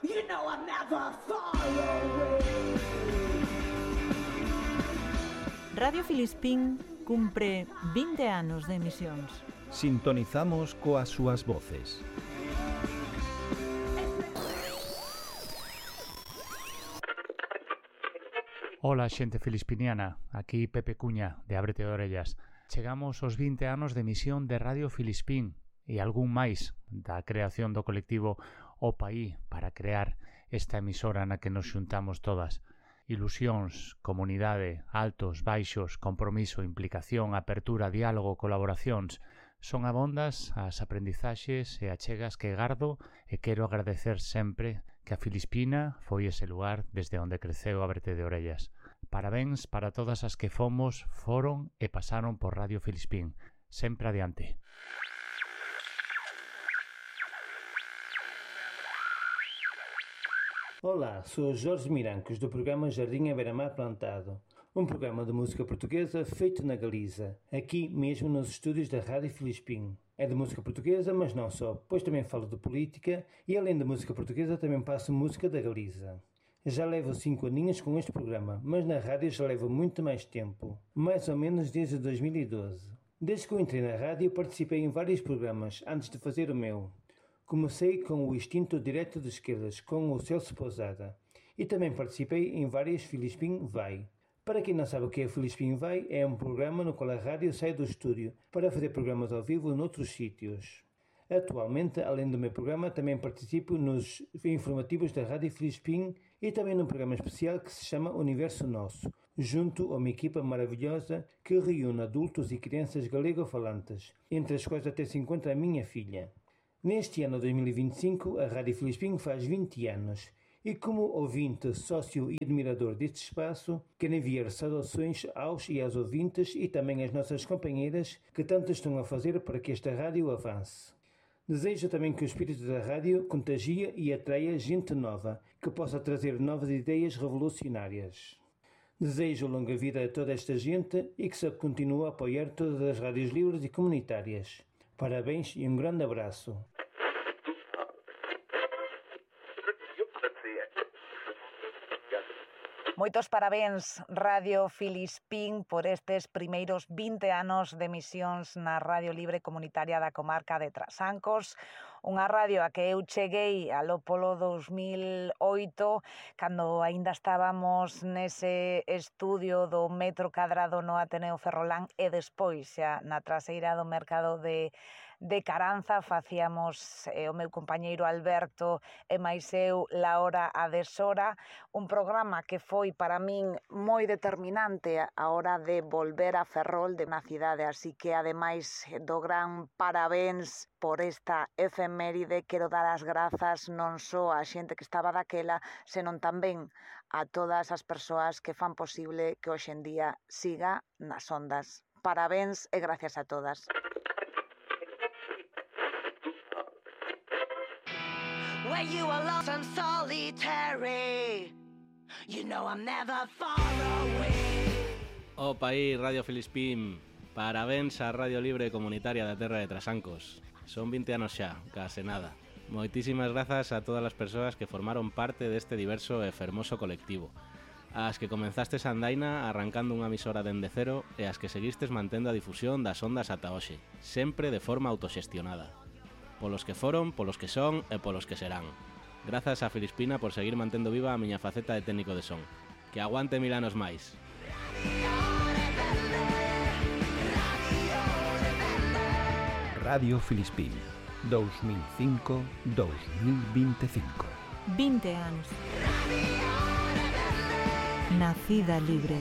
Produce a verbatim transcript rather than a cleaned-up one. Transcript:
You know I'm never far away. Radio Filispín cumpre vinte anos de emisións. Sintonizamos coas súas voces. Ola, xente filispiniana, aquí Pepe Cuña, de Ábrete de Orellas. Chegamos aos vinte anos de emisión de Radio Filispín e algún máis da creación do colectivo O Paí para crear esta emisora na que nos xuntamos todas. Ilusións, comunidade, altos, baixos, compromiso, implicación, apertura, diálogo, colaboracións. Son abondas as aprendizaxes e achegas que gardo e quero agradecer sempre que a Filispina foi ese lugar desde onde creceu Ábrete de Orellas. Parabéns para todas as que fomos, foron e pasaron por Radio Filispín. Sempre adiante. Olá, sou Jorge Mirancos do programa Jardim à Beira-Mar Plantado, um programa de música portuguesa feito na Galiza, aqui mesmo nos estúdios da Rádio Filispín. É de música portuguesa, mas não só, pois também falo de política e além da música portuguesa também passo música da Galiza. Já levo cinco aninhos com este programa, mas na rádio já levo muito mais tempo, mais ou menos desde dois mil e doze. Desde que eu entrei na rádio participei em vários programas antes de fazer o meu. Comecei com o Instinto Direto de Esquerdas, com o Celso Pousada, e também participei em várias Filispín Vai. Para quem não sabe o que é Filispín Vai, é um programa no qual a rádio sai do estúdio para fazer programas ao vivo noutros sítios. Atualmente, além do meu programa, também participo nos informativos da Rádio Filispín e também num programa especial que se chama Universo Nosso, junto a uma equipa maravilhosa que reúne adultos e crianças galego-falantes, entre as quais até se encontra a minha filha. Neste ano dois mil e vinte e cinco, a Rádio Filispín faz vinte anos e como ouvinte, sócio e admirador deste espaço, quero enviar saudações aos e às ouvintes e também às nossas companheiras que tanto estão a fazer para que esta rádio avance. Desejo também que o espírito da rádio contagie e atraia gente nova, que possa trazer novas ideias revolucionárias. Desejo longa vida a toda esta gente e que se continue a apoiar todas as rádios livres e comunitárias. Parabéns e um grande abraço. Moitos parabéns, Radio Filispín, por estes primeiros vinte anos de emisións na Radio Libre Comunitaria da comarca de Trasancos, unha radio a que eu cheguei alo polo dous mil oito, cando aínda estábamos nese estudio do metro cadrado no Ateneo Ferrolán e despois xa na traseira do mercado de, de Caranza facíamos eh, o meu compañeiro Alberto e máis eu La Hora a Deshora, un programa que foi para min moi determinante a hora de volver a Ferrol de na cidade, así que ademais do gran parabéns por esta efeméride quero dar as grazas non só á xente que estaba daquela, senón tamén a todas as persoas que fan posible que hoxe en día siga nas ondas. Parabéns e gracias a todas. When you are lost and solitary, you know I'm never far away. O Paí, Radio Filispín, parabéns á Radio Libre Comunitaria da Terra de Trasancos. Son vinte anos xa, case nada. Moitísimas grazas a todas as persoas que formaron parte deste diverso e fermoso colectivo. As que comenzastes a andaina arrancando unha emisora dende cero e as que seguistes mantendo a difusión das ondas ata hoxe, sempre de forma autoxestionada. Polos que foron, polos que son e polos que serán. Grazas a Filispina por seguir mantendo viva a miña faceta de técnico de son. Que aguante mil anos máis. Radio Filispín, dous mil cinco a dous mil vinte e cinco. vinte anos. Nacida libre.